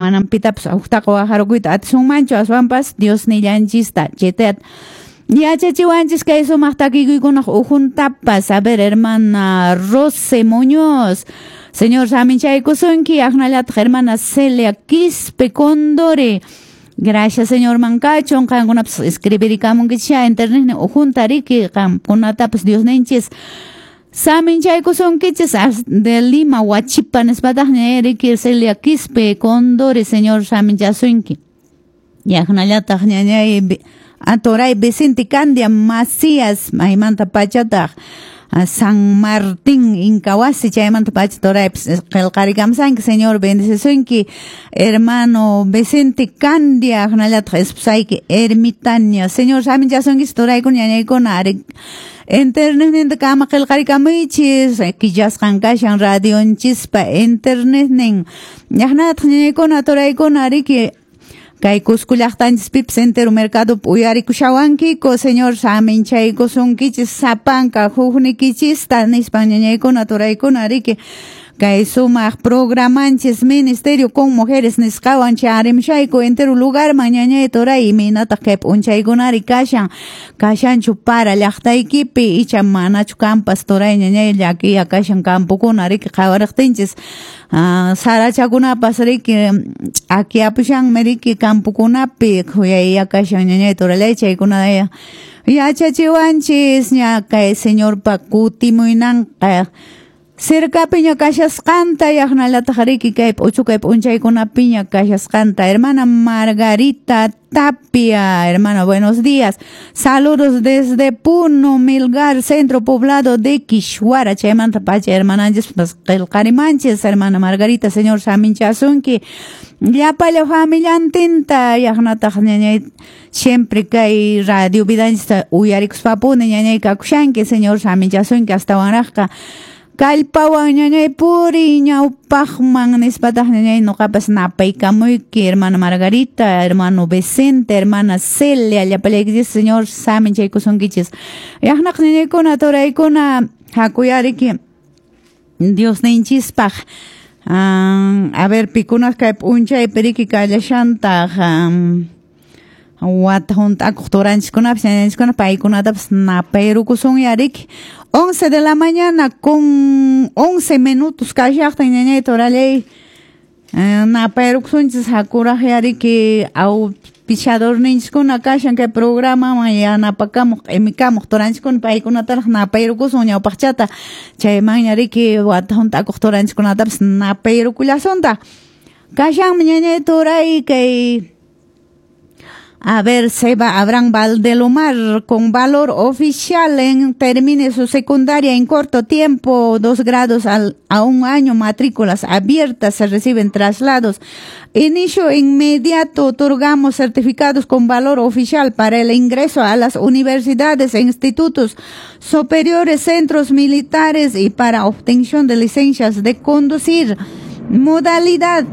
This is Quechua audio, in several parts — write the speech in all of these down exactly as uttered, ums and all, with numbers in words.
Manam pitapas huktaqa waharukuyta atisunmanchu, aswanpas Diosnillanchista chayta yachachiwanchis kay sumaq takikuykunaq ukhuntapas. A ver, hermana Rose Muñoz, Señor saminchaykusunki, aqnallataq hermana Celia Quispe Condore. Gracias, Señor mankachun, qankunapas escribirikamunkichis internet ukhunta riki, qamkunatapas Diosninchis saminchaykusunkichis de Lima, Huachipa nispataqña riki Celia Quispe Condore, Señor saminchasunki. Yaqnallataq ñañay atoray Vicente Candia Macías, maymanta pachataq San Martín Incahuasi, chaymanta pacha toraypis qillqarikamsanki, Señor bendecisunki, hermano Vicente Candia, aqnallataq esposayki Ermitania, Señor saminchasunkichis toraykuna ñañaykuna ari internetninta kama qillqarikamuychis, killasqan kashan radionchispa internetnin, yaqnallataq ñañaykuna toraykuna riki kay Cusco llaqtanchispipas entero mercado uyarikushawankiku, Señor saminchaykusunkichis sapanka huknikichista nispan ñañaykuna turaykuna riki kay sumaq programanchis Ministerio con Mujeres nisqawan charimshayku entero lugarman ñañay turay imaynataq kay p'unchaykunari kashan, kashanchu para llaqtaykipi icha manachu kampas turay ñañay llakiya kashan campokuna riki qhawariqtinchis sarachakunapas riki ch'akiyapushanmi riki campokunapi khuyayya kashan ñañay turalay chaykuna yachachiwanchis ña kay Señorpa kutimuynanqa cercapiña kashasqanta yaqnallataq riki kay p'uchukay p'unchaykunapiña kashasqanta. Hermana Margarita Tapia, hermana, buenos días. Saludos desde Puno, Milgar, centro poblado de Quishuara. Chaymanta pacha, hermananchis, pues, qillqarimanchis, hermana Margarita, Señor saminchasunki. Llapalla familiantinta yaqnataq ñañay siempre kay radio vidanchista uyarikuspapuni ñañay kakushanki, Señor saminchasunki astawanraqqa. Kallpawan ñañay puri ñawpaqman nispataq ñañay nuqapas napaykamuyki, hermana Margarita, hermano Vicente, hermana Celia, llapallaykichis, Señor saminchaykusunkichis. Yaqnaq ñañaykuna turaykuna hakuyariki Diosninchispaq. A ver, pikunas kay p'unchaypi riki kallashantaq wata hunt'akuq turanchikkunapas ñañanchikkuna paykunatapas napayrukusunya riki. once de la mañana con once minutos kashaqtin ñañay turallay napayrukusunchis hakuraq riki auspiciadorninchiskuna kashan kay programaman yanapakamuq q'imikamuq turanchikkuna paykunataraq napayrukusun ñawpaqchata chaymanña riki wata hunt'akuq turanchikkunatapas napayrukullasuntaq. Kashanmi ñañay turay kay A ver, Seba Abraham Valdelomar, con valor oficial en termine su secundaria en corto tiempo, dos grados al, a un año, matrículas abiertas, se reciben traslados. Inicio inmediato, otorgamos certificados con valor oficial para el ingreso a las universidades e institutos superiores, centros militares y para obtención de licencias de conducir. Modalidad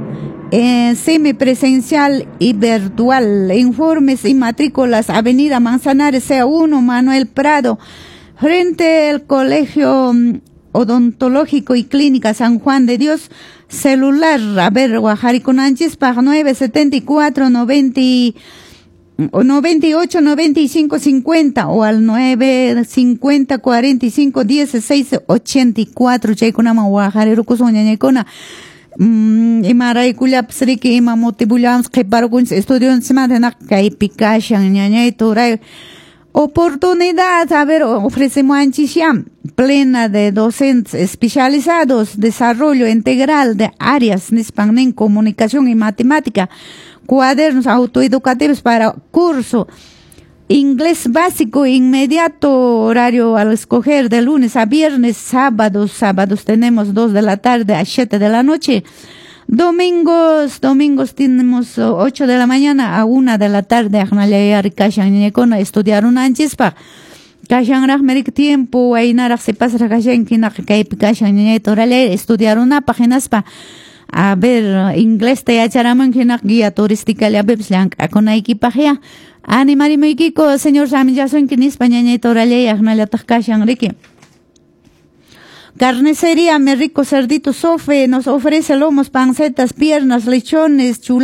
Eh, semipresencial y virtual. Informes y matrículas, Avenida Manzanares C uno, Manuel Prado, frente al Colegio Odontológico y Clínica San Juan de Dios. Celular, a ver, Guajariconanchis, pag nueve setenta y cuatro noventa y ocho noventa y cinco cincuenta o al nueve cincuenta cuarenta y cinco dieciséis ochenta y cuatro. Chaykunama guajarirukusun ñañaykuna. Mm, imaraykullapas riki ima motivullawanpas qhiparukunchis estudionchismanta hinaqa kaypi kashan ñañay turay. Oportunidad, a ver, ofrecemos ya plena de docentes especializados, desarrollo integral de áreas nispan nin comunicación y matemática, cuadernos autoeducativos para curso inglés básico inmediato, horario al escoger de lunes a viernes, sábados, sábados tenemos dos de la tarde a siete de la noche, domingos, domingos tenemos ocho de la mañana a una de la tarde, estudiar un anchispa, kashanraq tiempo, waynaraq sipasraq kashanki hinaqa kaypi kashan ñañay turallay estudiar una paginaspa. A ver, inglés te yacharamunki hinaqa guía turística llapipis llank'akunaykipaq ya. Animarimuykiko, Señor saminchasunki nispa ñañay turallay aqnallataq kashan riki. Carnicería Mi Rico Cerdito Sofe nos ofrece lomos, pancetas, piernas, lechones, chulapas.